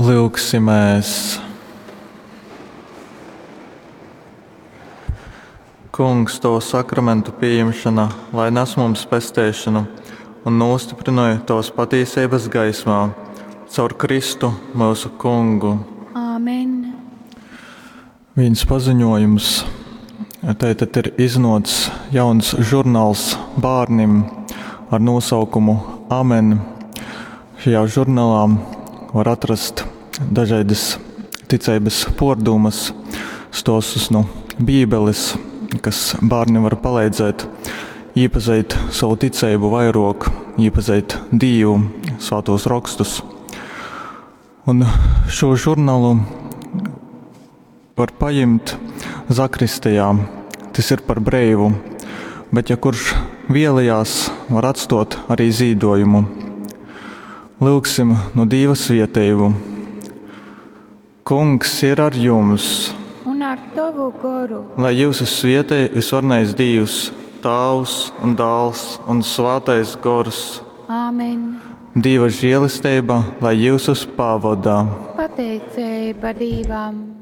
Lyugsimēs! Kungs, Tovu sakramentu pījimšana, lai nes mums pesteišanu un nūstyprynoj Tovas patīseibas gaismā, caur Kristu myusu Kungu. Āmen. Vīns paziņojums. Tātad ir iznācis jauns žurnāls bērniem ar nosaukumu Amen. Šajā žurnālā var atrast dažādas ticības pārdomas, stostus no Bībeles, kas bērniem var palīdzēt iepazīt savu ticību vairāk, iepazīt Dievu, svētos rakstus. Un šo žurnālu var paņemt zakristijā. Tas ir par breivu, bet ja kurš vēlējās, var atstot arī zīdojumu. Lūgsim no Dieva svietēju. Kungs ir ar jums, Un ar tavu goru. lai jūs svietē visvarnais Dievs, Tāvs un Dāls un Svētais Gors. Āmen. Dieva žēlastība, lai jūs pavadā. Pateicība Dievam.